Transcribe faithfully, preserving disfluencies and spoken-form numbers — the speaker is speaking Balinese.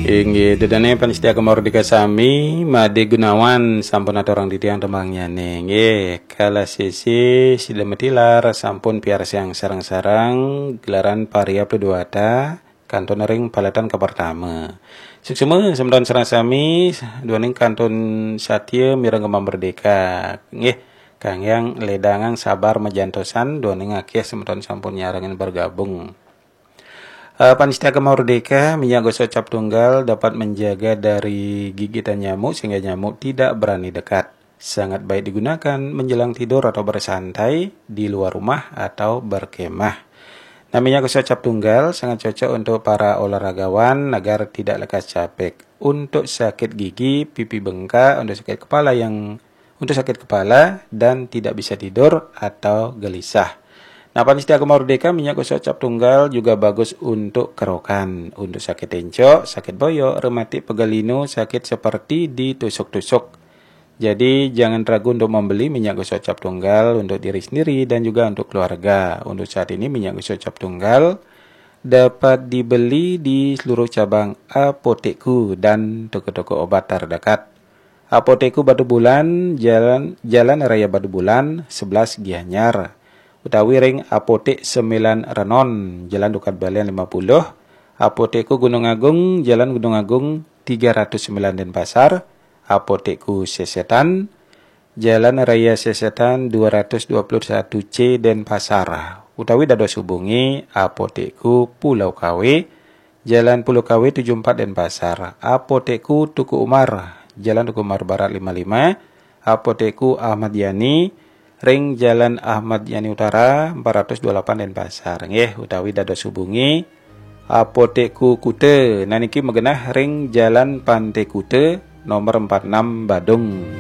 Inggih, ida dané pamiarsa Gema Merdeka sami, Madé Gunawan sampun aturang titiang tembangnyané. Inggih, kala sisi sida matilar sampun piarsayang sareng-sareng gelaran Paria Pledwata kantun ring paletan kapertama. Suksma semeton sareng sami duaning kantun satia mireng Gema Merdeka. Inggih, kangge ledangang sabar majantosan duaning akeh semeton sampun nyarengin bergabung. Eh, pamiarsa Gema Merdeka, minyak gosok cap tunggal dapat menjaga dari gigitan nyamuk sehingga nyamuk tidak berani dekat. Sangat baik digunakan menjelang tidur atau bersantai di luar rumah atau berkemah. Nah, minyak gosok cap tunggal sangat cocok untuk para olahragawan agar tidak lekas capek. Untuk sakit gigi, pipi bengkak, untuk sakit kepala yang untuk sakit kepala dan tidak bisa tidur atau gelisah. Nah, pamiarsa Gema Merdeka, minyak gosok cap tunggal juga bagus untuk kerokan, untuk sakit encok, sakit boyok, rematik, pegal linu, sakit seperti ditusuk-tusuk. Jadi, jangan ragu untuk membeli minyak gosok cap tunggal untuk diri sendiri dan juga untuk keluarga. Untuk saat ini, minyak gosok cap tunggal dapat dibeli di seluruh cabang Apotekku dan toko-toko obat terdekat. Apotekku Batubulan, Jalan, Jalan Raya Batubulan, sebelas Gianyar. Utawi ring Apotek Sembilan Renon, Jalan Tukad Balian lima puluh. Apotekku Gunung Agung, Jalan Gunung Agung tiga ratus sembilan Denpasar. Apotekku Sesetan, Jalan Raya Sesetan dua ratus dua puluh satu C Denpasar. Utawi dados hubungi Apotekku Pulau Kawe, Jalan Pulau Kawe tujuh empat Denpasar. Apotekku Teuku Umar, Jalan Teuku Umar Barat lima lima. Apotekku Ahmad Yani, ring Jalan Ahmad Yani Utara empat ratus dua puluh delapan Denpasar. Nggih, utawi dados hubungi Apotekku Kuta. Nah, niki magenah ring Jalan Pantai Kuta nomor empat enam Badung.